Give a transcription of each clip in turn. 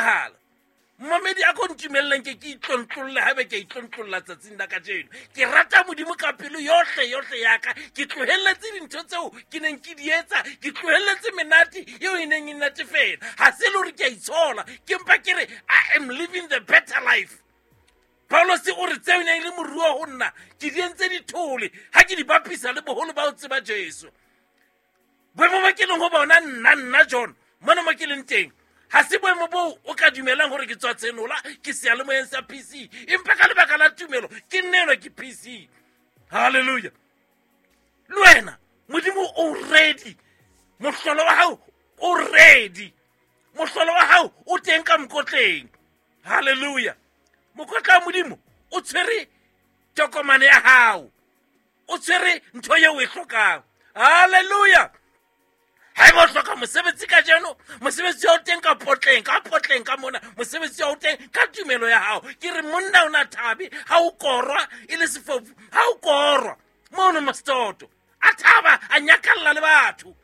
etsahala. Mmamedi a ko ntumelleng ke ke itlontlolle haebe ke a itlontlolla tsatsing la kajeno. Ke rata Modimo ka pelo yohle yohle ya ka. Ke tlohelletse dintho tseo ke neng ke di etsa, ke tlohelletse menate eo e neng e natefela. Ha se le hore ke a itshola, ke mpa ke re I am living the better life. Paulus o re tseo e neng e le moruo ho nna ke di entse dithole ha ke di bapisa le boholo ba ho tseba Jesu. Boemo ba ke leng ho bona nna nna John mona mo ke leng teng ha se boemo boo o ka dumelang hore ke tswa Tshenola ke seyalemoyeng sa PC, empa ka lebaka la tumelo ke nnelwa ke PC. Hallelujah. Le wena Modimo o ready, mohlolo wa hao o ready, mohlolo wa hao o teng ka mokotleng. Hallelujah. Mokotla wa Modimo o tshwere tokomane ya hao, o tshwere ntho eo o e hlokang. Hallelujah. Haeba o hloka mosebetsi kajeno, mosebetsi wa o teng ka potleng, ka potleng ka mona, mosebetsi wa o teng ka tumelo ya hao. Ke re monna o na thabe ha o korwa e le sefofu, ha o korwa mono Mastoto, a thaba, a nyakalla le batho,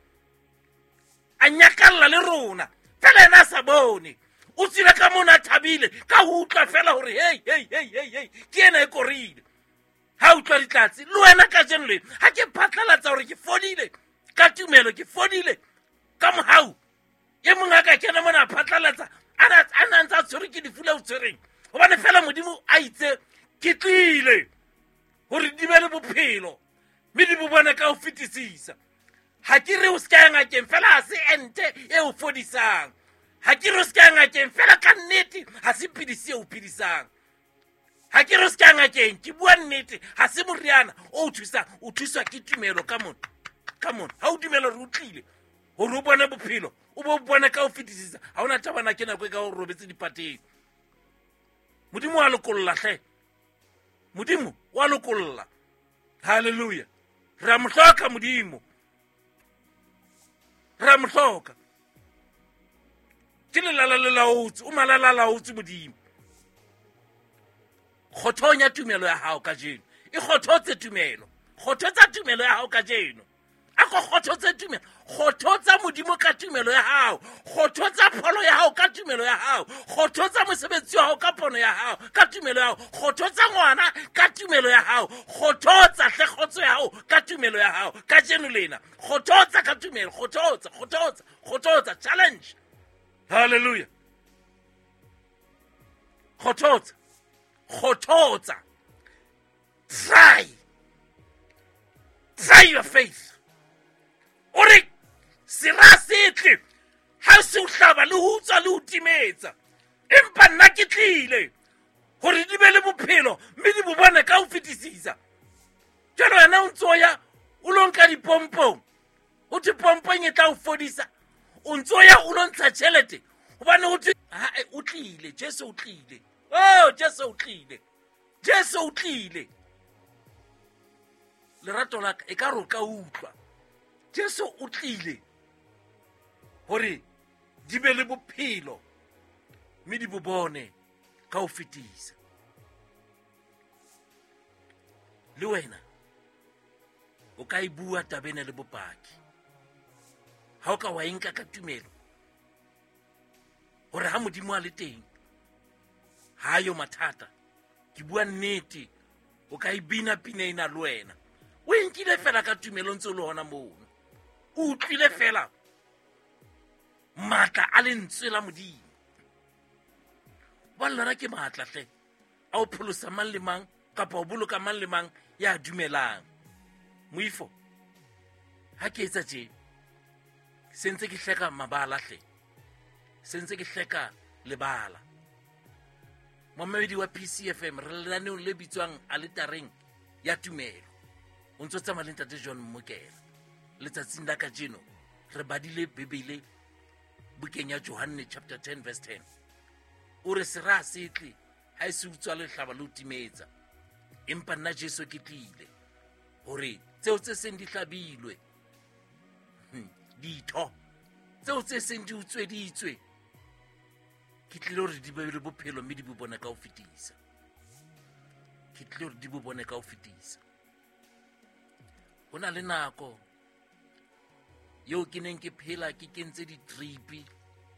a nyakalla le rona, fela ena a sa bone. O tswile ka mona a thabile ka ho utlwa fela hore hei, hei, hei, hei, hei, ke ena e korile. Ha utlwa ditlatse le wena kajeno le ha ke phatlalatsa hore ke fodile ka tumelo, ke fodile ka mohau. E mong a ka kena mona a phatlalatsa a na ntse a tshwerwe ke lefu le o tshwereng, hobane fela Modimo a itse ke tlile hore di be le bophelo mme di bo bone ka ho fetisisa. Ha ke re o se ka ya ngakeng fela, ha se ente e o fodisang. Ha ke re o se ka ya ngakeng fela, ka nnete ha se pidisi e o phedisang. Ha ke re o se ka ya ngakeng, ke bua nnete, ha se moriana o o thusang, o thuswa ke tumelo ka mona, ka mona. Ha o dumela hore o tlile hore o bone bophelo, o bo bone ka ho fetisisa, ha hona taba na ke nako e ka o robetse dipateng. Modimo wa lokolla hle, Modimo wa lokolla. Hallelujah. Re a mo hloka Modimo, re a mo hloka. Ke lelala le laotse, o malala laotse Modimo. Kgothong ya tumelo ya hao kajeno, e kgothotse tumelo, kgothotsa tumelo ya hao kajeno. A ko kgothotse tumelo, kgothotsa Modimo ka tumelo ya hao, kgothotsa pholo ya hao ka tumelo ya hao, kgothotsa mosebetsi wa hao ka pono ya hao ka tumelo ya hao, kgothotsa ngwana ka tumelo ya hao, kgothotsa hle kgotso ya hao ka tumelo ya hao kajeno lena. Kgothotsa ka tumelo, kgothotsa, kgothotsa, kgothotsa, challenge. Hallelujah. Kgothotsa, kgothotsa. Try, try your faith. O re sera se tle ha se o hlaba le ho utswa le ho timetsa, empa nna ke tlile hore di be le bophelo mme di bo bone ka ho fetisisa. Jwale wena o ntso ya o lo nka dipompong, ho thwe pompong e tla o fodisa, o ntso ya o lo ntsha tjhelete hobane ho thwe ha, o tlile, Jesu o tlile. Oh, Jesu o tlile, Jesu o tlile. Lerato la ka e ka re o ka utlwa, Jesu o tlile hore di be le bophelo mme di bo bone ka ho fetisa. Le wena o ka e bua taba ena le bopaki ha o ka wa e nka ka tumelo hore ha Modimo a le teng ha yo mathata. Ke bua nnete, o ka e bina pina ena le wena o e nkile fela ka tumelo ntse o le hona mono, o utlwile fela matla a lentswe la Modimo. Ba lona ke matla hle a o pholosa mang le mang kapa o boloka mang le mang ya dumelang. Moifo ha ke etsa tje se ntse ke hleka mabala hle, se ntse ke hleka lebala. Momamedi wa PCFM, re lenaneong le bitswang Aletareng ya Tumelo. O ntso tsamaya le Ntate John Mmokela. Letsatsing la kajeno re badile Bibele bukeng ya Johanne chapter 10 verse 10. O re sera se tle ha e se utswa lehlaba le o timetsa, empa nna Jesu ke tlile hore tseo tse seng di hlabilwe, ditho tseo tse seng di utsweditswe, ke tlile hore di be le bophelo mme di bo bone ka ho fetisa. Ke tlile hore di bo bone ka ho fetisa. Ho na le nako eo ke neng ke phela ke kentse di-drip.